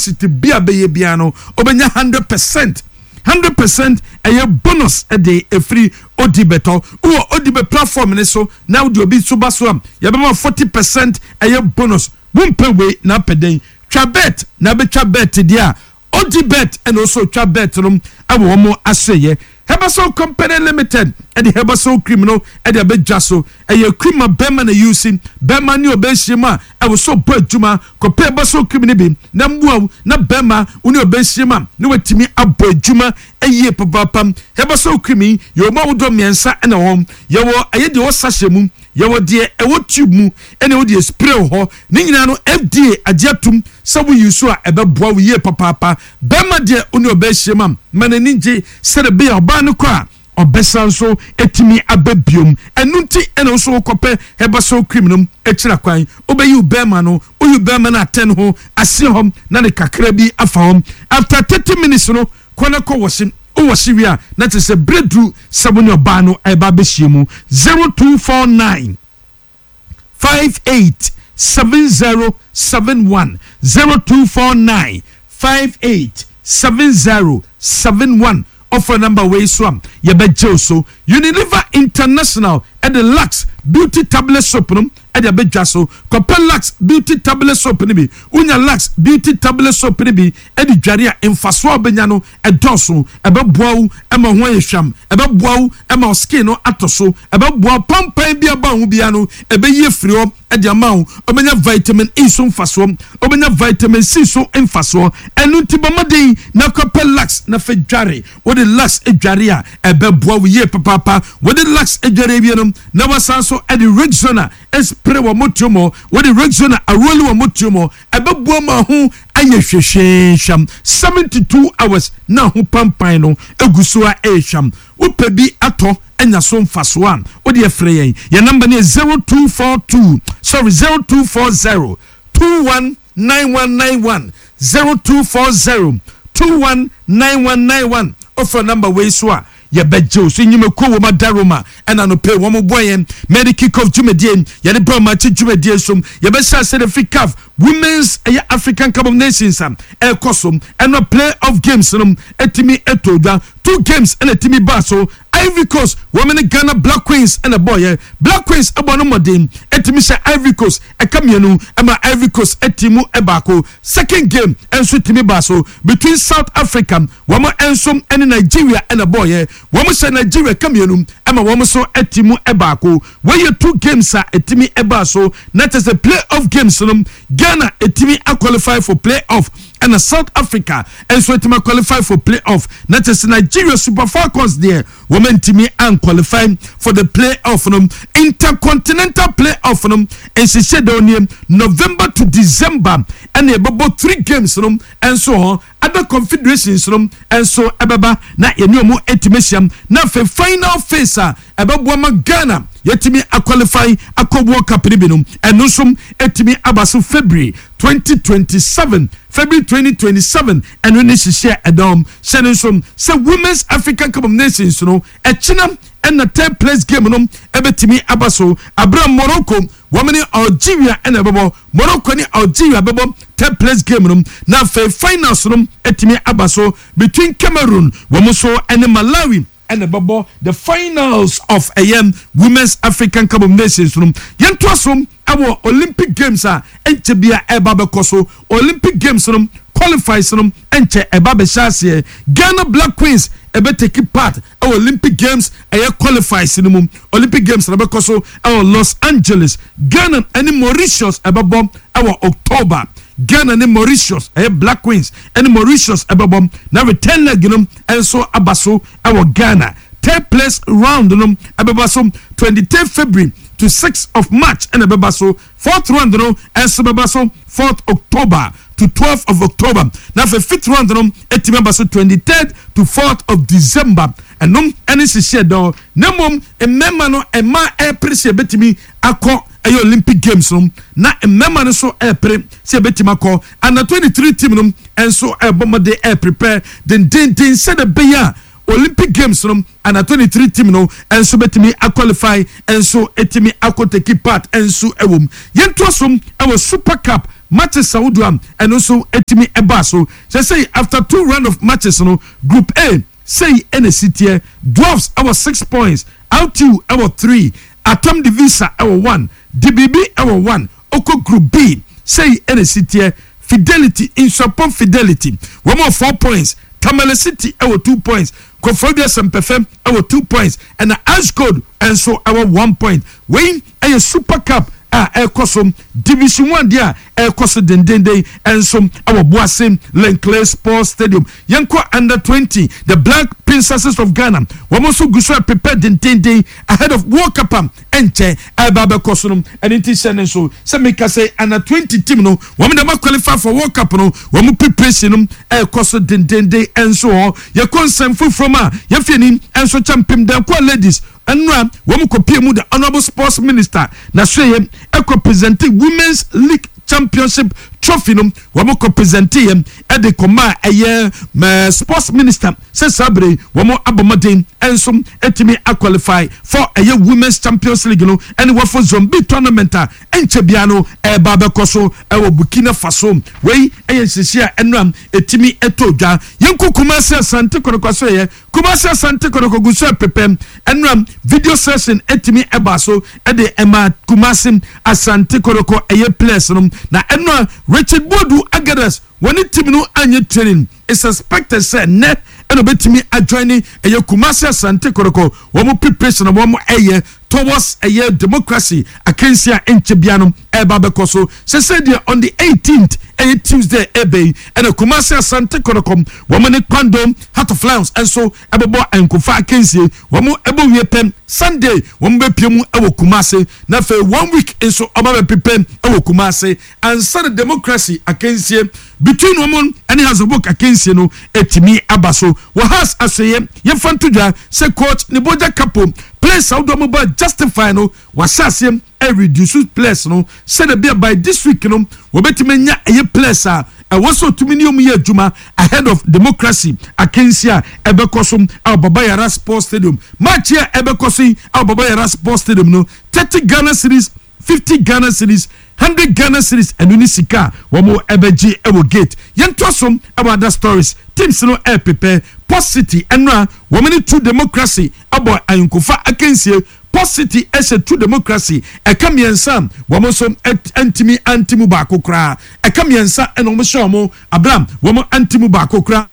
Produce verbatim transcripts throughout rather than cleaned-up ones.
Deposit bi a bɛyɛ biara no, ɔbɛnya hundred percent, hundred percent ɛyɛ bonus ɛde efiri Odibet hɔ. Wɔ Odibet platform ne so na wode obi so ba so a, yɛbɛma forty percent ɛyɛ bonus. Wompɛ wei na apɛ den twa bet na abɛtwa bet deɛ a, Odibet ɛna ɔso twa bet no ɛwɔ wɔn asoyɛ. Herbasol Company Limited ɛde Herbasol cream no ɛde abɛdwa so. Ɛyɛ cream a bɛrima na yusi bɛrima ne ɔbɛnhyia mu a ɛwɔ so bɔ adwuma. Kɔpɛ Herbasol cream no bi na mmoa na bɛrima wo ne ɔbɛnhyia mu a ne watumi abɔ adwuma ɛyie papaapa. Herbasol cream yi, yɛwɔ mu ahodoɔ mmiɛnsa ɛna wɔn yɛwɔ. Ɛyɛ deɛ ɛwɔ sachet mu, yɛwɔ deɛ ɛwɔ tube mu, ɛna ɛwɔ deɛ spray wɔ hɔ. Ne nyinaa no, F D A agye atum sɛ woyi so a, ɛbɛboa wo yie papaapa. Bɛrima deɛ, wo ne ɔbɛhyia mu a, ma n'ani gye sɛde bɛyɛ ɔbaa no kɔ a, ɔbɛsa nso etumi aba biom. Ɛnu nti ɛna nso wokɔpɛ Herbasol cream no akyira kwan. Wobɛyi wo bɛrima no, woyi bɛrima no atɛn ho aseɛ hɔ na ne kakra bi afa hɔ. After thirty minutes no, kɔ na kɔ wɔse. Wowɔse wie a, na kyerɛ sɛ berɛ duru sɛ wo ne ɔbaa no ɛba bɛhyia mu. zero two four nine five eight seven zero seven one, zero two four nine five eight seven zero seven one. Ɔfɔ number wei so a, yɛbɛgye wo so. Unilever International ɛde Lux Beauty Tablet Soap no ɛde abɛdwa so. Kɔpɛ Lux Beauty Tablet Soap no bi. Wonya Lux Beauty Tablet Soap no bi ɛde dware a, mfasoɔ a wobɛnya no ɛdɔɔso. Ɛbɛboa wo ɛma ho ayɛ hwam, ɛbɛboa wo ɛma wo skin no atɔ so, ɛbɛboa wo pampan bi aba ho bia no ɛbɛyi afiri hɔ ɛde ama wo. Wobɛnya vitamin E so mfasoɔ, wobɛnya vitamin C so mfasoɔ. Ɛno nti bɔ mmɔden na kɔpɛ Lux na fɛ dware. Wode Lux dware a, ɛbɛboa wo yie papaapa. Wode Lux dware awie no, na wasan so ɛde Rexona spray wɔ motuo mu. Wode Rexona aroli wɔ motuo mu, ɛbɛboa ma ho ayɛ hwehwɛhwɛm. Seventy two hours na ho pampan no egu so a ɛyɛ hwam. Wopɛ bi atɔ anya so mfasoɔ a, wode ɛfrɛ yɛn. Yɛn number no yɛ zero two four two, sorry, zero two four zero two one nine one nine one, zero two four zero two one nine one nine one. Ɔfrɛ number wei so a, yɛbɛgye wo so. Nnwumakuo wɔ mu adaroma ɛna no pɛ wɔn boa yɛn mɛde kick off dwumadie yɛde brɛ ɔmo akyi dwumadie so. Yɛbɛhyɛ ase de fi CAF Women's ɛyɛ African Cup of Nations a ɛrekɔ so. Ɛno play off games no ɛtumi ɛtɔ dwa. Two games ɛna ɛtumi baa so. Ivory Coast wɔn ne Ghana Black Queens ɛna bɔɔyɛ. Black Queens ɛbɔ no mmɔden ɛtumi hyɛ Ivory Coast ɛka mmienu ɛma Ivory Coast ɛti mu ɛbaako. Second game ɛnso tumi baa so between South Africa, wɔn nso ɛne Nigeria ɛna bɔɔyɛ. Wɔn hyɛ Nigeria ka mmienu ɛma wɔn nso ɛti mu ɛbaako. Wɔyɛ two games a ɛtumi ɛbaa so na kyerɛ sɛ play off games no, Ghana ɛtumi aqualify for play off, ɛna South Africa nso ɛtumi qualify for play off, na kyerɛ sɛ Nigeria Super Falcons deɛ, wɔn ntumi anqualify for the play off no. Intercontinental play off no nhyehyɛ dɛw nie: November to December ɛna ɛbɛbɔ three games no nso hɔ. Other confederations no nso ɛbɛba na yɛne ɔmo ɛtumi ahyia, na afei final phase a ɛbɛboa ma Ghana yɛtumi aqualify akɔ World Cup no bi no, ɛno nso ɛtumi aba so February twenty twenty-seven, February twenty twenty-seven. Ɛno ne hyehyɛ ɛdɔm hyɛ no nso sɛ Women's African Cup of Nations no, ɛkyina ɛna third place game no ɛbɛtumi aba so abira. Morocco wɔn ne Algeria ɛna ɛbɛbɔ. Morocco ne Algeria bɛbɔ third place game no, na afei finals no ɛtumi aba so between Cameroon, wɔn nso ɛne Malawi ɛna ɛbɛbɔ the finals of ɛyɛ Women's African Cup of Nations no. Yɛntoa so ɛwɔ Olympic Games a ɛnkyɛ bia ɛba bɛkɔ so. Olympic Games no qualifies no ɛnkyɛ ɛba bɛhyɛ aseɛ. Ghana Black Queens ɛbɛtake part ɛwɔ Olympic Games ɛyɛ qualifies no mu. Olympic Games na ɛbɛkɔ so ɛwɔ Los Angeles. Ghana ɛne Mauritius ɛbɛbɔ ɛwɔ October. Ghana ne Mauritius, ɛyɛ Black Queens ɛne Mauritius ɛbɛbɔ, na return leg no ɛnso aba so ɛwɔ Ghana. Third place round no ɛbɛba so twenty third February to six of March ɛna ɛbɛba so. Fourth round no ɛnso bɛba so fourth October to twelve of October, na afei fifth round no ɛtumi aba so twenty third to fourth of December. Ɛnom ɛne hyehyɛ dɔn. Na mmom mmarima no, mmaa ɛɛpere sɛ ɛbɛtumi akɔ ɛyɛ Olympic Games no, na mmarima no nso ɛɛpere sɛ ɛbɛtumi akɔ. Under twenty three team no nso ɛɛbɔ mmɔden ɛɛprepare dendenden sɛdeɛ ɛbɛyɛ a Olympic Games no, under twenty three team no nso bɛtumi aqualify, nso ɛtumi akɔ take part nso ɛwɔ mu. Yɛntoa so ɛwɔ Super Cup. Matches ahodoɔ a ɛno nso ɛtumi ɛbaa so sɛ sɛ after two round of matches no, Group A sei ɛna si teɛ: Dwarfs ɛwɔ six points, R T U ɛwɔ three, Atam Divisa ɛwɔ one, D B B ɛwɔ one. Okɔ Group B, sei ɛna si teɛ: Fidelity, Nsuapɔn Fidelity, wɔn wɔ four points, Tamale City ɛwɔ two points, Koforidua Sɛmpɛfɛ ɛwɔ two points, ɛna Ashgold ɛnso ɛwɔ one point. Wei ɛyɛ Super Cup a ɛrekɔ so, Division One deɛ a ɛrekɔ so dendenden ɛnso ɛwɔ Boase Len Clay Sports Stadium. Yɛnkɔ under twenty, the Black Princesses of Ghana, wɔn nso gu so prepare dendenden ahead of World Cup a ɛnkyɛn ɛreba abɛkɔ so no. Ɛne ti hyɛ ne nso sɛ meka sɛ under twenty team no, wɔn dɛm qualify for World Cup no, wɔn preparation no ɛrekɔ so dendenden ɛnso hɔ. Yɛkɔ nsɛm foforɔ mu a yɛfie ni ɛnso kyɛ mpem dɛnkɔ ladies nnura wɔn kɔ pie mu, the Honourable Sports Minister na so yɛ ɛkɔ present Women's League Championship trophy no. Wɔn kɔ present yɛ ɛde kɔma ɛyɛ mɛ Sports Minister sɛ saa bere wɔn abɔ mmɔden ɛnso ɛtumi aqualify for ɛyɛ Women's Champions League no ɛne wɔfɔ Zone B tournament a ɛnkyɛ bia no ɛɛba abɛkɔ so ɛwɔ Burkina Faso. Wei ɛyɛ nhyehyɛ a ɛnura ɛtumi ɛtɔ dwa. Yɛnkɔ Kumasi Asante Kɔtɔkɔ so. Yɛ Kumasi Asante Kɔtɔkɔ gu so ɛpepɛm. Ɛnura video session ɛtumi ɛba so ɛde ɛma Kumasi Asante Kɔtɔkɔ ɛyɛ players no, na ɛnura Richard Boadu Agadas wɔne team no anyɛ training. It's expected sɛ nnɛ ɛna obetumi ajoin ɛyɛ Kumasi Asante Kɔtɔkɔ wɔn preparation na wɔn ɛyɛ towards ɛyɛ Democracy akansi a ɛnkyɛ bia no ɛreba abɛkɔ so. Sɛsɛ deɛ, on the eighteenth, ɛyɛ Tuesday ɛbɛ yi, ɛna Kumasi Asante Kɔtɔkɔ wɔn ne Kwando Heart of Lions ɛnso ɛbɛbɔ nkofa akansie. Wɔn ɛbɔ wie pɛm, Sunday wɔn bɛpie mu ɛwɔ Kumasi, na afei one week nso ɔba bɛpepɛ ɛwɔ Kumasi ansa na Democracy akansie between wɔn ɛne Hearts of Oak akansie no ɛtumi aba so. Wɔ Hearts asɛyɛ, yɛmfa nto dwa sɛ coach ne bogya kapo players ahodoɔ mo ba justify no, wahyɛ aseɛ ɛreduce players no sɛdeɛ bia by this week no wɔbɛtumi anya ɛyɛ players a ɛwɔ sɛ otumi ne ɔmu yɛ adwuma ahead of Democracy akansi a ɛbɛkɔ so a Baba Yara Sports Stadium. Match a ɛbɛkɔ so yi a Baba Yara Sports Stadium no, thirty Ghana cedis, fifty Ghana cedis, hundred Ghana cedis, ɛno ne sika a wɔn ɛbɛgye ɛwɔ gate. Yɛntoa so ɛwɔ other stories. Teams no ɛɛpepɛ. Port City ɛno a wɔn ne True Democracy abɔ ayɔnkofa akansie. Port City ɛhyɛ True Democracy ɛka mmiɛnsa, wɔn nso ɛntumi anti mu baako koraa. Ɛka mmiɛnsa ɛna wɔn hyɛ wɔn abram, wɔn anti mu baako koraa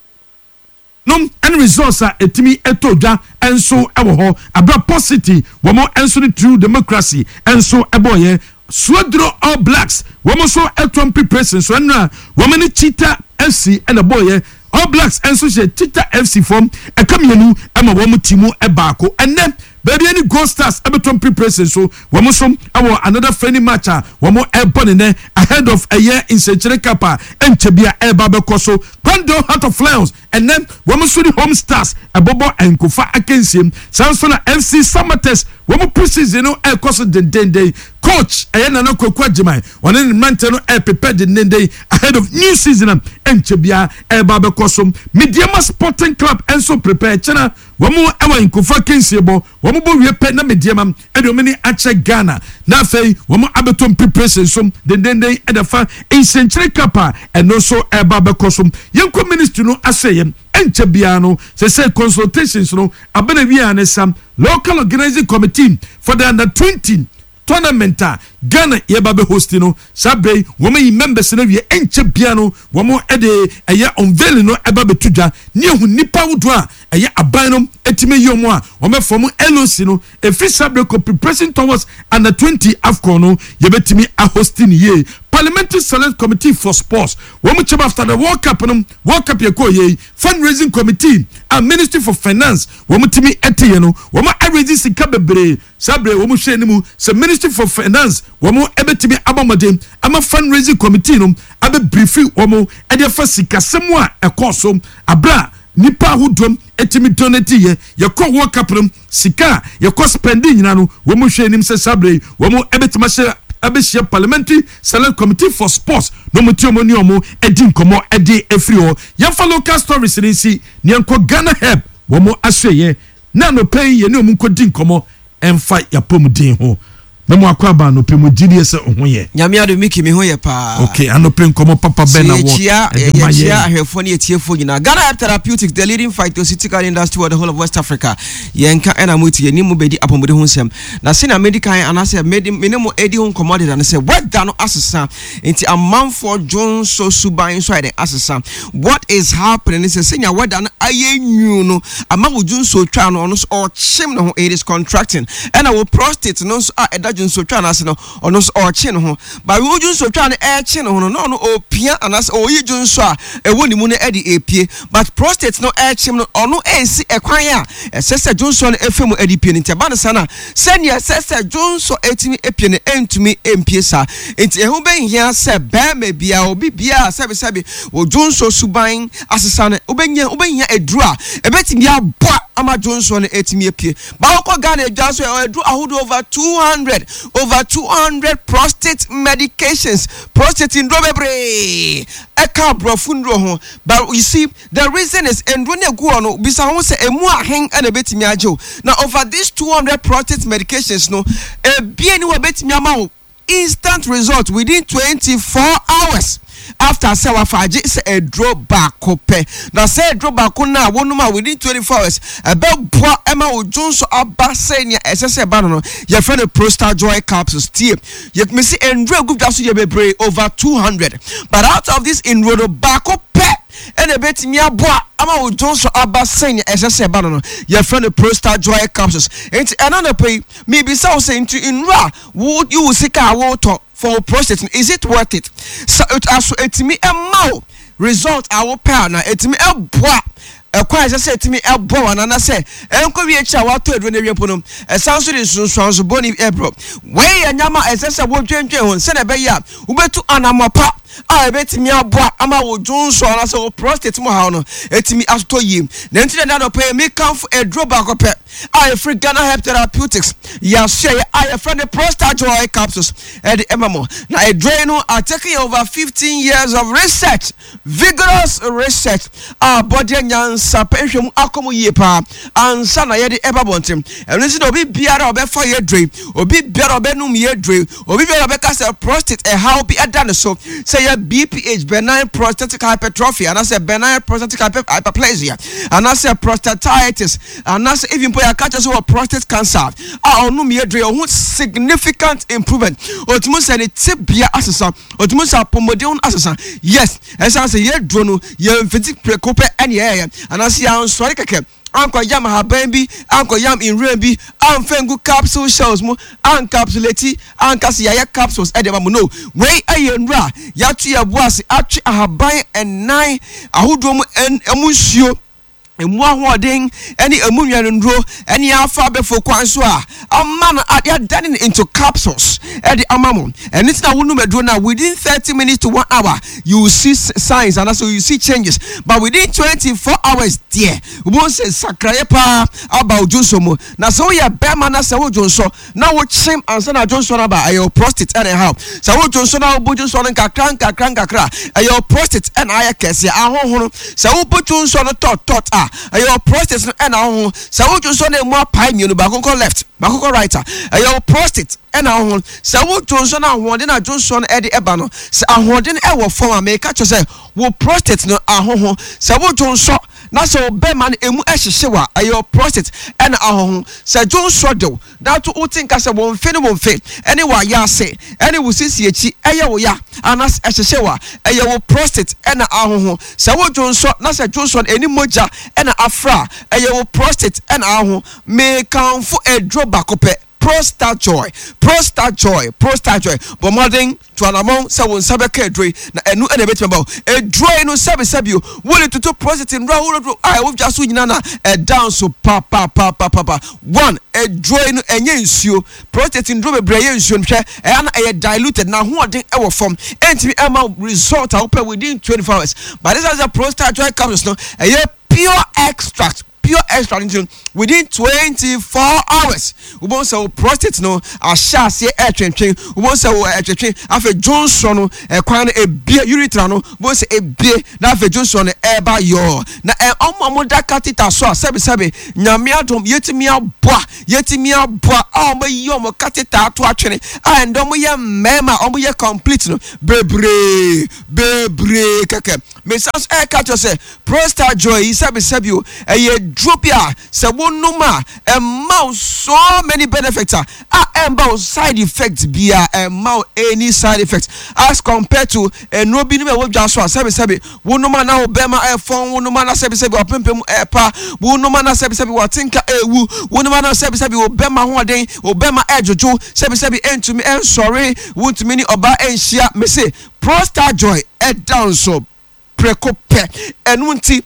nom. Ɛne results a ɛtumi ɛtɔ dwa ɛnso ɛwɔ hɔ abira Port City wɔn nso ne True Democracy ɛnso ɛbɔɔyɛ. Suaduro All Blacks wɔn nso ɛtɔn preparation so. Ɛnura wɔn ne Cheetah F C ɛna bɔɔyɛ. All Blacks nso hyɛ Cheetah F C fam ɛka mmienu ɛma wɔn ti mu ɛbaako. Ɛnɛ baabi ɛne Gold Stars ɛbɛtɔn preparation so. Wɔn nso ɛwɔ another friendly match a wɔn ɛbɔ ne nɛ ahead of ɛyɛ Nsɛnkyerɛ Cup a ɛnkyɛ bi a ɛreba abɛkɔ so. Kwando Heart of Lions ɛnɛ wɔn nso ne Home Stars ɛbɔbɔ nkofa akansie. Saa nso na F C Samartex wɔn pre-season no ɛrekɔ so dendenden. Coach ɛyɛ Nana Kwaku Agyeman, ɔne ne mmeranteɛ no ɛrepepɛ dendenden ahead of new season a ɛnkyɛ bia ɛreba abɛkɔ so. Medeama Sporting Club ɛnso prepare. Kyɛnɛ wɔn ɛwɔ nkofa akansie bɔ. Wɔn bɔ wie pɛ na Medeama ɛde wɔn ani akyɛ Ghana na afei wɔn abɛtɔ preparation so dendenden ɛde fa Nsɛnkyerɛ Cup a ɛno nso ɛreba abɛkɔ so. Yɛnkɔ ministry no ahyɛ yɛn ɛnkyɛ biara no sɛ sɛ consultations no abɛna wia ne sam local organizing committee for the under twenty tournament a Ghana yɛba bɛ host no. Saa bere yi wɔn ayi members no wie. Ɛnkyɛ bia no wɔn de ɛyɛ unveiling no ɛba bɛto dwa ne ehu nipa ahodoɔ a ɛyɛ aban no ɛtumi yi wɔn a wɔn bɛ form L O C no. Efiri saa bere kɔ, preparation towards under twenty AFCON no yɛbɛtumi ahost ne yie. Parliamentary Select Committee for Sports wɔn kyɛm after the World Cup no, World Cup yɛ kɔ yie, fundraising committee a Ministry for Finance wɔn tumi ɛte yɛ no, wɔn arrange sika bebree. Saa bere wɔn hwɛ anim sɛ Ministry for Finance wɔn ɛbɛtumi abɔ mmɔden ama fundraising committee no abɛbrief wɔn ɛde afa sikasɛm a ɛkɔɔ so abira nipa ahodoɔ ɛtumi donate yɛ yɛkɔ World Cup no, sika a yɛkɔ spending nyinaa no. Wɔn hwɛ anim sɛ saa bere wɔn ɛbɛtumi ahyɛ abɛhyia Parliamentary Select Committee for Sports na wɔn ti wɔn ne wɔn ɛdi nkɔmɔ ɛde efiri hɔ. Yɛnfa local stories ne nsi ne yɛnkɔ Ghana Herb wɔn ahyɛ yɛ na anɔpɛ yi yɛne wɔn nkɔ di nkɔmɔ ɛnfa yapɔmuden ho. Mɛmo akɔ aba anɔpɛ mu, gyidie sɛ ɔho yɛ. Nyame adom, Miki, me ho yɛ paa. Ok, anɔpɛ nkɔmmɔ papa bɛn na wɔ yɛkyia ɛde ma yɛkyia yɛn? Ahwɛfoɔ ne yɛtiefoɔ nyinaa. Ghana Herb Therapeutics, the leading phytoceutical industry wɔ the whole of West Africa, yɛnka ɛna mo ti yɛnim mu bɛdi apɔmuden ho nsɛm. Na sɛnea medi kan anaasɛ medi mene mo edi ho nkɔmmɔ deda no sɛ weather no asesa, nti amanfoɔ dwonso suban nso ayɛ dɛn asesa. What is happening ne sɛ sɛnea weather no ayɛ nwu no ama wo dwonso twa no, ɔno nso ɔkyem ne ho, it is contracting, ɛna wo prostate no nso a ɛda dwonso twa no ase no, ɔno nso ɔkye ne ho. Ba wo dwonso twa no ɛkye ne ho no, na ɔno ɔpia anaasɛ ɔyi dwonso a ɛwɔ ne mu no ɛde epie, but prostate no ɛkyem no, ɔno ɛsi ɛkwan a ɛsɛ sɛ dwonso no ɛfɛ mu ɛde pie no. Nti ɛba no sa no a, sɛnea ɛsɛ sɛ dwonso ɛtumi epie no, ɛntumi ɛmpie saa. Nti ɛho bɛhia sɛ bɛrima bia, obi bia, sɛbisɛbi, wɔ dwonso suban asesa no, wobɛnya wobɛhia aduru a ɛbɛtumi aboa ama dwonso no ɛtumi apue. Baako Ghana adwa so, ɛduru ahodoɔ over two hundred, over two hundred prostate medications, prostate nduro bebree ɛka aborɔfo nduro ho. But you see, the reason is nduro no egu hɔ no, bisa ho sɛ emu ahen ɛna ebetumi agye o. Na over these two hundred prostate medications no, ebien ni wɔ betumi ama wo instant result within twenty four hours after sɛ wafa agye sɛ aduro baako pɛ. Na sɛ aduro baako no a wɔnom a within twenty four hours ɛbɛboa ɛma wo dwonso aba sɛnea ɛsɛ sɛ ɛba no no yɛfrɛ no Prostajoy capsules. Tie, yɛtumi si nduro egu dwa so yɛ bebree, over two hundred, but out of this nduro no, baako pɛ ɛna ebetumi aboa ama wo dwonso aba sɛnea ɛsɛ sɛ ɛba no no yɛfrɛ no Prostajoy capsules. Nti ɛna na pɛ yi, miribisa wo sɛ, nti nnuro a wo yi wo sika a wotɔ for wo prostate no, is it worth it? Sɛ aso etumi ɛma wo result a wopɛ a, na etumi ɛboa ɛkwan a ɛsɛ sɛ ɛtumi ɛbɔ wɔn, anana sɛ ɛnkɔ wie akyi a watɔ aduro no awie mpo no, ɛsan so de nsunsuanso bɔne ɛbrɔ? Wei yɛ nyama a ɛsɛ sɛ wodwendwen ho sɛdeɛ ɛbɛyɛ a wobɛtu anammɔ pa a ɛbɛtumi aboa ama wo dwonso anaasɛ wo prostate mu haw no ɛtumi atotɔ yie. Na nti dɛ dɔpɛ yi, mekamfo aduro baako pɛ a ɛfiri Ghana Herb Therapeutics yɛasoɛyɛ a yɛfrɛ no Prostajoy capsules ɛde ɛma mo. Na aduro yi no atake yɛ over fifteen years of research, vigorous research a bɔdeɛ nyansa pɛ nhwɛ mu akɔ mu yie paa ansa na yɛde ɛba bɔnten. Ɛno nti na obi biara a ɔbɛfa yɛ duro yi, obi biara a ɔbɛnum yɛ duro yi, obi biara a ɔbɛka sɛ prostate ɛhaw bi ɛda ne so, sɛ yɛ B P H, benign prostatic hypertrophy, anaasɛ benign prostatic hyper hyperplasia anaasɛ prostatitis, anaasɛ even mpo yɛaka kyerɛ sɛ wɔ prostate cancer a, ɔnom yɛ duro yi, ɔho significant improvement, otumi sɛ ne tibia asesa, otumi sɛ apɔmuden asesa. Yes, ɛsan sɛ yɛ duro no yɛ mfiti prɛko pɛ ɛne yɛyɛ, anaasɛ yɛansɔre kɛkɛ ankɔ yam ahaban bi, ankɔ yam nwura bi, amfa ngu capsule shells mu, ancapsulate, anka sɛ yɛayɛ capsules ɛde ma mu no. Wei ɛyɛ nwura a yɛato yɛ bo ase atwe ahaban ɛnan ahodoɔ mu, ɛn ɛmu nsuo, emu ahoɔden ɛne emu nnuanenduro ɛne afa abɛfo kwan so a ama no yɛadane no into capsules ɛde ama mo. Ɛno nti na wonum aduro no a, within thirty minutes to one hour you will see signs anaasɛ you see changes, but within twenty four hours deɛ, wobɛhu sɛ sakraeɛ paa aba wo dwonso mu. Na sɛ woyɛ bɛrima na sɛ wodwonso na wokyem ansa na dwonso no aba, ɛyɛ wo prostate ɛna ɛhaw. Sɛ wodwonso na wobɔ dwonso no nkakra nkakra nkakra, ɛyɛ wo prostate ɛna ayɛ kɛseɛ ahohono. Sɛ wobɔ dwonso no tɔt tɔt a, ɛyɛ wo prostate no ɛna ahoho. Sɛ wodwonso no emu apae mmienu, baako kɔ left, baako kɔ right a, ɛyɛ wo prostate ɛna ahoho. Sɛ wodwonso no, ahoɔden a dwonso no ɛde ɛba no, sɛ ahoɔden ɛwɔ fam a, mɛka kyerɛ sɛ wo prostate no ahoho. Sɛ wodwonso na sɛ wo bɛrima no emu ɛhyehyɛ wa, ɛyɛ wo prostate ɛna ahoho. Sɛ dwonso dew dato, wote nka sɛ wɔn mfe ne wɔn mfe ɛne wɔ ayɛ ase ɛne wo sisi akyi ɛyɛ wo ya anaasɛ ɛhyehyɛ wa, ɛyɛ wo prostate ɛna ahoho. Sɛ wo dwonso na sɛ dwonso no ɛni mogya ɛna afra, ɛyɛ wo prostate ɛna ahoho. Meekanfo aduro baako pɛ, Prostajoy, Prostajoy, Prostajoy. Bɔ mmɔden to anamɔn sɛ wo nsa bɛka aduro yi, na ɛno ɛna ɛbɛtumi aba wo. Aduro yi no, sɛbisɛbi o, wode toto prostate nnuro ahodoɔ a ɛwɔ dwa so nyinaa na ɛda nso papapapapa. One, aduro yi no ɛnyɛ nsuo. Prostate nnuro bebree ɛyɛ nsuo no, hwɛ, ɛyɛ na ɛyɛ diluted na ahoɔden ɛwɔ fam, ɛntumi ɛma result a wopɛ within twenty four hours. But this is a Prostajoy capsules no, ɛyɛ pure extract. Pure extract nti, within twenty four hours, wobɛhu sɛ wo prostate no ahyɛ aseɛ ɛtwentwen. Wobɛhu sɛ wo ɛtwetwe, afei dwonsɔ no ɛkwan no ebie, urethra no wobɛhu sɛ ebie, na afei dwonsɔ no ɛɛba yɔɔ. Na ɛ ɔmo a mo da catheter so a, sɛbisɛbi, Nyame adom, yɛtumi aboa yɛtumi aboa a ɔmo ayi ɔmo catheter ato atwene a ɛndɛ ɔmo yɛ mmarima a ɔmo yɛ complete no bebree bebree kɛkɛ. Mesan so ɛɛka kyerɛ sɛ Prostajoy yi, sɛbisɛbi o, ɛyɛ duro bi a sɛ wonom a, ɛma wo so many benefits a a ɛmba wo side effect bia, ɛma wo any side effect as compared to nnuro bi nom a ɛwɔ dwa so a, sɛbisɛbi, wonom a na wo bɛrima ɛfɔn, wonom a na sɛbisɛbi wapempem ɛpa, wonom a na sɛbisɛbi watenka ɛwu, wonom a na sɛbisɛbi wo bɛrima hoɔden, wo bɛrima ɛdwodwo, sɛbisɛbi ɛntumi ɛnsɔre, wontumi ne ɔbaa ɛnhyia. Mese Prostajoy ɛda nso prɛko pɛ. Ɛno nti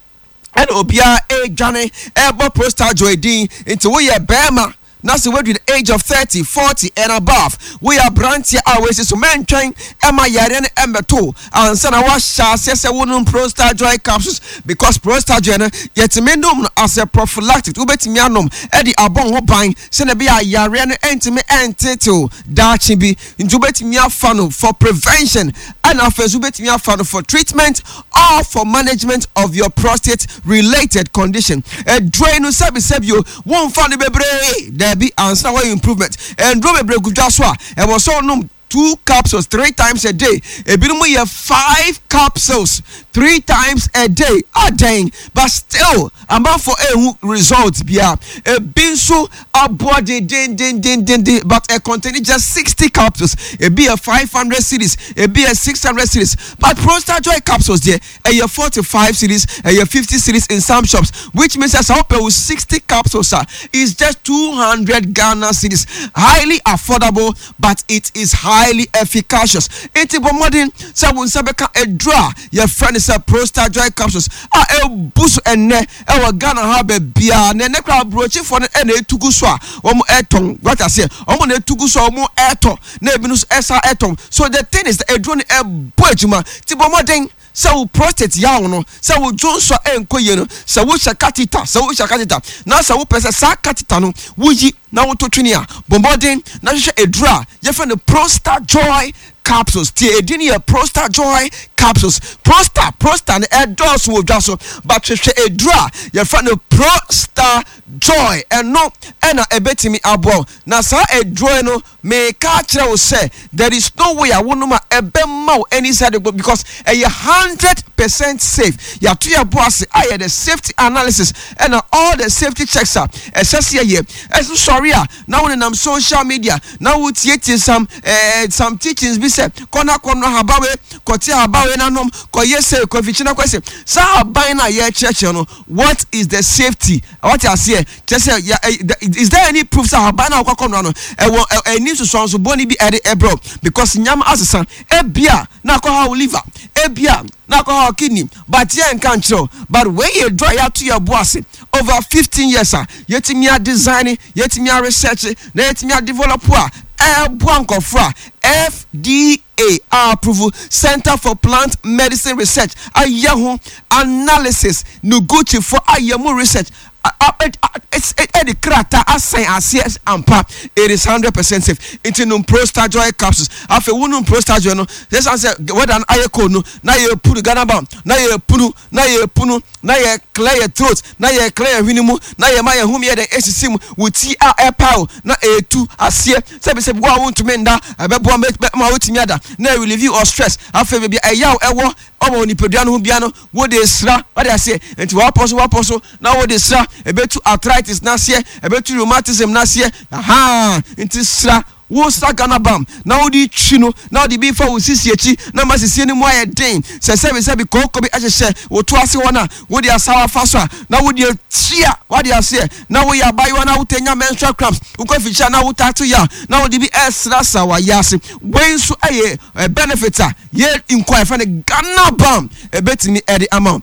ɛna obiara ɛredwane ɛrebɔ Prostajoy din. Nti woyɛ bɛrima na sɛ wadu the age of thirty, forty and above, woyɛ aberanteɛ a wɔasi so, mɛntwɛn ɛma yareɛ no ɛmmɛto ansa na woahyɛ aseɛ sɛ wonom Prostajoy capsules, because Prostajoy no, yɛtumi nom no as a prophylactic. Wobɛtumi anom ɛde abɔ ho ban sɛnea ɛbɛyɛ a yareɛ no ɛntumi ɛntetew daakye bi. Nti wobɛtumi afa no for prevention, ɛna afei nso wobɛtumi afa no for treatment or for management of your prostate related condition. Ɛduro yi no, sɛbisɛbi o, wɔmfa no bebree daabi ansa na wɔyɛ improvement. Ɛnduro bebree gu dwa so a ɛwɔ sɛ ɔnom two capsules three times a day, ebinom yɛ five capsules three times a day adan, but still amanfo ehu result bia. Ebi nso aboa dendendendendenden, but ɛ contain just sixty capsules. Ebi yɛ five hundred cedis, ebi yɛ six hundred cedis, but Prostajoy capsules deɛ, ɛyɛ forty five cedis, ɛyɛ fifty cedis in some shops, which means sɛ wopɛ wo sixty capsules a, is just two hundred Ghana cedis. Highly affordable, but it is highly efficacious. Eti bɔ mmɔden sɛ wo nsa bɛka aduro a yɛfrɛ no sɛ Prostajoy capsules a ɛbu so ɛnnɛ ɛwɔ Ghana ha baabiara. Na ɛnɛ koraa, aburokyifoɔ no ɛna etugu so a wɔn ɛtɔn wata seɛ, wɔn na etugu so a wɔn ɛtɔ, na ebi nso ɛsa ɛtɔn. So the thing is, aduro no ɛbɔ adwuma. Ti bɔ mmɔden sɛ wo prostate yaw no, sɛ wo dwonsɔ ɛnkɔ yie no, sɛ wohyɛ catheter sɛ wohyɛ catheter na sɛ wopɛ sɛ saa catheter no woyi na woto twene a, bɔ mmɔden na hwehwɛ aduro a yɛfrɛ no Prostajoy capsules. Tie, edin yɛ Prostajoy capsules. Prosta prosta no ɛdɔɔso wɔ dwa so, but hwehwɛ eduro a yɛfrɛ no Prostajoy. Ɛno ɛna ɛbɛtumi aboa. Na saa eduro no, meka kyerɛ wo sɛ there is no way a wonom a ɛbɛma wo any side effect, because ɛyɛ hundred percent safe. Yàtò yɛ bo ase ayɛ the safety analysis ɛna all the safety checks a ɛsɛ sɛ yɛyɛ. Ɛso sɔre a na wɔn nenam social media na wɔtietie some ɛɛ some teachings bi sɛ kɔna kɔnɔ ahabawe, kɔte ahabawe nanom, kɔyɛ sɛ kɔfikyi na kɔsɛ saa aban na yɛrekyerɛkyerɛ no. What is the safety? Wɔte aseɛ kyerɛ sɛ ya ɛ is there any proof sɛ ahaban na akɔkɔ no ano ɛwɔ ɛni nsosɔnso bɔnni bi ɛde ɛbrɛ? Because nyama asesa, ebia na akɔ ha wo liver, ebia na akɔ ha wo kidney, but yɛn nka nkyerɛw. But wei yɛ duro a yɛato yɛ bo ase over fifteen years a yɛtumi a design, yɛtumi a research, na yɛtumi a develop a ɛɛboa nkɔfoɔ a F D A approve, Center for Plant Medicine Research ayɛ ho analysis, Noguchi fo ayɛ mu research, ɛde krataa asan aseɛ ampa, it is hundred percent safe. Nti nom Prostajoy capsules. Afei wonum Prostajoy no, yɛsan sɛ weather no ayɛ cold no, na yɛ punu Ghana Balm, na yɛ punu na yɛ punu na yɛ clear yɛ throat, na yɛ clear yɛ hwene mu, na yɛ ma yɛ home yɛ dɛ esisi mu, wò ti a ɛpa o na etu aseɛ. Sɛbisɛbi, wo a wontumi nda, ɛbɛboa ma wotumi ada na relieve your stress. Afei baabi ɛyaw ɛwɔ ɔwɔ nipadua no ho bia no, wode sra wade aseɛ. Nti wapɔ so wapɔ so na wode sra, ɛbɛtu arthritis n'aseɛ, ɛbɛtu rheumatism n'aseɛ. Aha, nti sra wo sra Ghana Balm na wode twi no na wode bi fa wo sisi akyi na ma sisi no mu ayɛ den. Sɛ sɛbi sɛbi kooko bi ahyehyɛ wo to ase hɔ no a, wode asawa fa so a na wode atua wade aseɛ. Na woyɛ abayewa na wotɛ nya menstrual cramps, wokɔ afikyia na wotato yɛ a, na wode bi ɛsrasra wayɛ ase. Wei nso ɛyɛ benefit a yɛ nkɔ a yɛfrɛ no Ghana Balm ɛbɛtumi ɛde ama wo.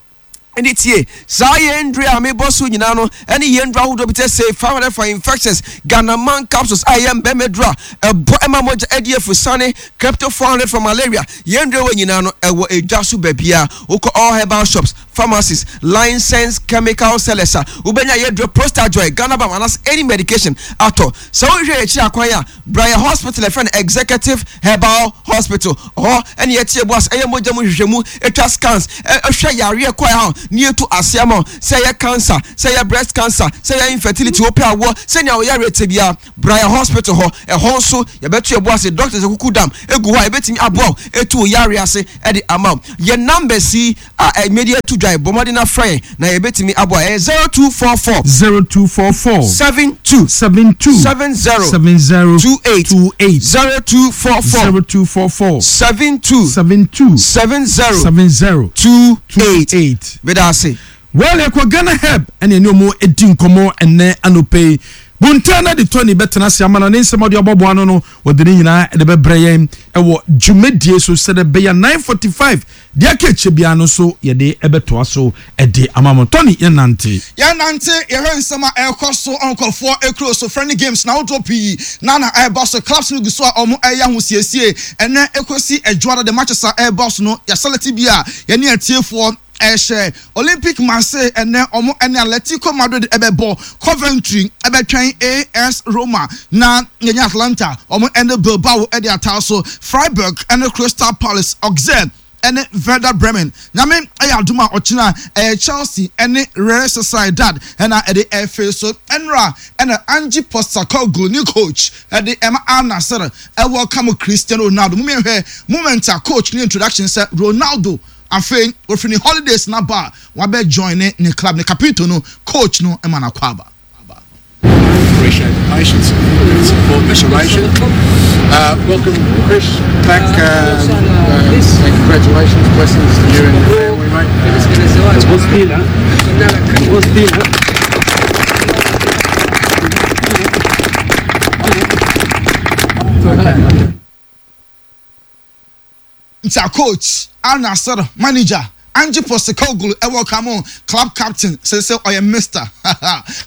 Ɛne tie, saa yɛn ndure a mebɔ so nyinaa no, ɛne yɛn ndure ahodoɔ bi te sɛ five hundred for infections, Ghanaman capsules a ɛyɛ mbɛmɛ duro a ɛbɔ ɛma mogya ɛdi efusane, Crypto four hundred for malaria, yɛn ndure wɔ nyinaa no ɛwɔ edwa so baabi a wokɔ, all herbal shops. Pharmacies, licensed chemical sellers a wobɛnya yɛduro Prostajoy, Ghana Balm anaasɛ any medication atɔ. Sɛ wohwɛ akyi akwan a, Brian Hospital, ɛfrɛ no Executive Herbal Hospital hɔ, ɛne yɛtie bu ase, ɛyɛ mogya mu hwehwɛmu, ɛtwa scans, ɛhwɛ yareɛ kɔ ɛha ne yɛtu aseɛ ma, sɛ ɛyɛ cancer, sɛ ɛyɛ breast cancer, sɛ ɛyɛ infertility, wopɛ awoɔ, sɛnea woyare te bia, Brian Hospital hɔ. Ɛhɔ nso yɛbɛto yɛbo ase, doctors akuku dam egu hɔ a yɛbɛtumi aboa wo ɛtu wo yare ase ɛde ama wo. Yɛ numbers yi a ɛmɛdi atu dwa, bɔ mmɔden na frɛ yɛn na yɛbɛtumi aboa. Ɛyɛ zero two four four zero two four four seven two seven two seven zero seven zero two eight. two eight. zero two four four zero two four four seven two seven two seven zero seven zero two eight. eight. Bɛda ase. Well, ɛkɔ Ghana Herb ɛne ɛne ɔmo edi nkɔmɔ ɛnɛ anɔpɛ yi. Buntan na de Tony bɛtena ase ama na ne nsɛm a ɔde ɔbɔboa no no wɔde ne nyinaa ɛde bɛbrɛ yɛn ɛwɔ dwumadie so sɛdeɛ bɛyɛ nine forty-five deɛ aka akyire biara no nso yɛde ɛbɛtoa so ɛde ama mo. Tony, yɛn nante. Yɛnante, yɛhwɛ nsɛm a ɛrekɔ so nkɔfoɔ ekuro so. Friendly games na ahodoɔ pii na na ɛreba so. Clubs no gu so a wɔn ɛyɛ ahosiesie. Ɛnɛ ekosi Ɛdwoada de matches a ɛreba so no, yɛselect bi a yɛne atiefoɔ ɛhyɛ. Olympic Marseille ɛnɛ ɔmo ɛne Atletico Madrid ɛbɛbɔ, Coventry ɛbɛtwɛn A S Roma, na yɛnyɛ Atalanta ɔmo ɛne Bilbao ɛde ataa so, Freiburg ɛne Crystal Palace, Auxerre ɛne Werder Bremen. Nyame ɛyɛ adum a, ɔkyena ɛyɛ Chelsea ɛne Real Sociedad ɛna ɛde ɛfɛ so. Ɛnra ɛna Ange Postecoglou ne coach ɛde ɛma Al Nassr ɛwɔ kam Cristiano Ronaldo. Mo mìíràn moment a coach ne introduction sɛ Ronaldo afei ofiri ne holidays na ba a wabɛ join ne ne club ne capito no, coach no ɛma n'akɔ aba. Appreciate the patience and support restoration. Uh, welcome, Chris, back. Um, uh, and congratulations, blessings to you and your family, mate. Uh, Was Dina? Nti a coach, Al Nassr manager Ange Postecoglou ɛwɔ kamo club captain sɛ ɔyɛ Mister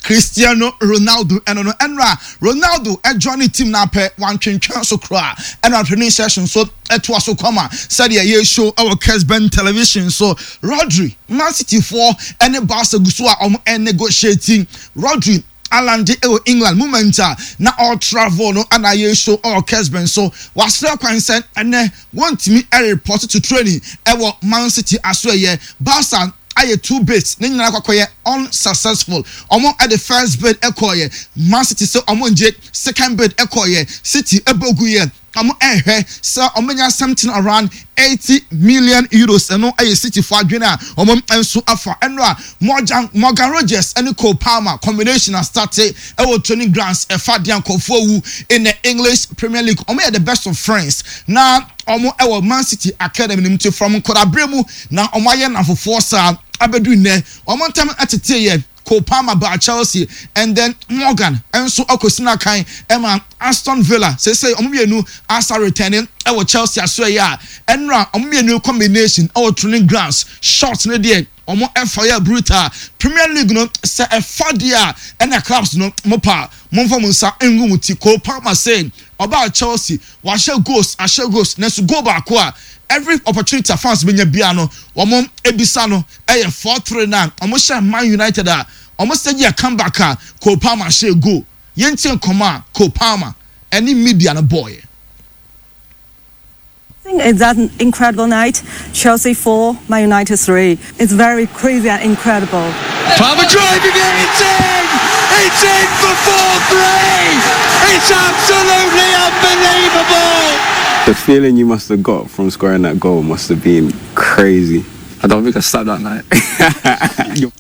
Cristiano Ronaldo. Ɛno no ɛnra Ronaldo ɛjoin ne team n'apɛ wantwentwɛn so koraa, ɛna training session so ɛtoa so kɔma sɛdeɛ yɛ show ɛwɔ Kesben Television so. Rodri, Man City foɔ ɛne Barca gu so a wɔn ɛnegotiating. Rodri alande ɛwɔ England moment a na ɔtravel no ɛna yɛ show ɛwɔ Kesben so. Wasrɛ kwan sɛ ɛnɛ wɔntumi ɛreport to training ɛwɔ Man City aso. Ɛyɛ Barca ayɛ two bids ne nyinaa kɔkɔyɛ unsuccessful. Ɔmo ɛde first bid ɛkɔɔyɛ, Man City sɛ ɔmo ngye. Second bid ɛkɔɔyɛ, City ɛbɔgu yɛ. Ɔmo ɛhwɛ sɛ ɔmo nya something around eighty million euros. Ɛno ɛyɛ City fo adwene a ɔmo nso afa. Ɛno a Morgan Morgan Rogers ɛne Cole Palmer combination a start ɛwɔ training grounds ɛfa deɛ nkɔfoɔ wu in the English Premier League. Ɔmo yɛ the best of friends na ɔmo ɛwɔ Man City academy nim ti from nkɔdabere mu na ɔmo ayɛ nafofoɔ saa abɛdu nnɛ. Ɔmo ntam ɛtete yɛ. Cole Palmer ba Chelsea and then Morgan nso akɔsi n'akan ɛma Aston Villa. Sese ɔmo mmienu asa returning ɛwɔ Chelsea aso. Ɛyɛ a ɛnura ɔmo mmienu combination ɛwɔ training grounds short ne deɛ ɔmo ɛfa yɛ brutal. Premier League no sɛ ɛfa deɛ a ɛna clubs no mo pa mo nfa mo nsa ngu mo ti. Cole Palmer say ɔbaa Chelsea wahyɛ goals, ahyɛ goals, nanso goal baako a every opportunity a fans bɛnya bia no wɔn ebisa no ɛyɛ four three nine wɔn hyɛ Man United a wɔn sɛ yɛ comeback a Cole Palmer hyɛ goal. Yɛn ti nkɔmɔ a Cole Palmer ɛne media no bɔɔyɛ. I think it's that incredible night. Chelsea four, Man United three. It's very crazy and incredible. Palmer driving it, it's in! It's in for four three! It's absolutely unbelievable! The feeling you must have got from scoring that goal must have been crazy. I don't think I slept that night.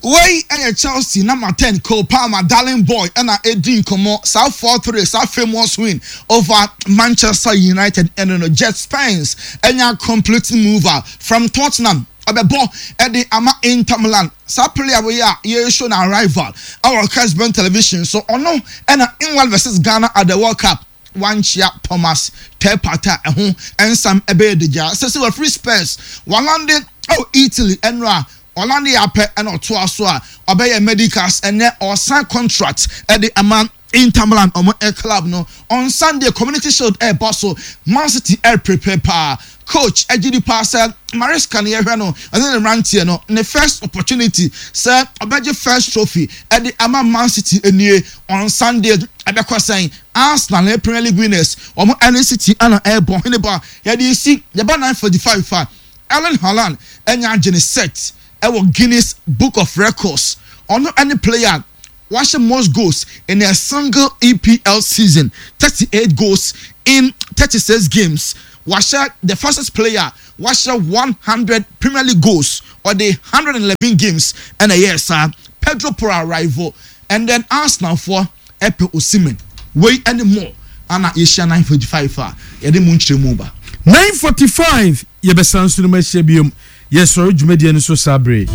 Wei ɛyɛ Chelsea number ten Cole Palmer, darling boy, ɛna edi nkɔmɔ saa four three, saa famous win over Manchester United. Ɛno no Djed Spence ɛnya complete mover from Tottenham ɔbɛbɔ ɛde ama Inter Milan. Saa player wei a yɛreshow na arrival ɛwɔ Kesben Television so, ɔno ɛna England versus Ghana at the World Cup wankyia Thomas Partey a ɛho nsam ɛbɛyɛ degya sɛ sɛ wɔfiri Spurs walande ɛwɔ Italy. Ɛno a ɔlande yɛ apɛ ɛna ɔtoa so a ɔbɛyɛ medicals, ɛnɛ ɔsan contract ɛde ama Inter Milan ɔmo air club no. On Sunday, Community Shield ɛɛbɔ so. Man City air prepare paa. Coach agye di paa sɛ Maresca ne yɛhwɛ no, ɔne ne mmeranteɛ no, ne first opportunity sɛ ɔbɛgye first trophy ɛde ama Man City nie. On Sunday ɛbɛkɔ sɛn? Arsenal ne Premier League winners, ɔmo ɛne City ɛna ɛɛbɔ hene ba. Yɛde si yɛba nine forty five a, Erling Haaland ɛnya agye ne set ɛwɔ Guinness Book of Records. Ɔno ɛne player wahyɛ most goals in a single E P L season, thirty eight goals in thirty six games. Wahyɛ the fastest player wahyɛ one hundred Premier League goals. Ɔde hundred and eleven games ɛna ɛyɛ saa. Pedro Porro arrival, and then Arsenal foɔ ɛpɛ Osimhen. Wei ɛne more ana yɛhyia nine forty five a yɛde mu nkyerɛ mu ba. Nine forty five yɛbɛsan so no mu ahyia biom. Yɛsɔre dwumadie no so saa bere.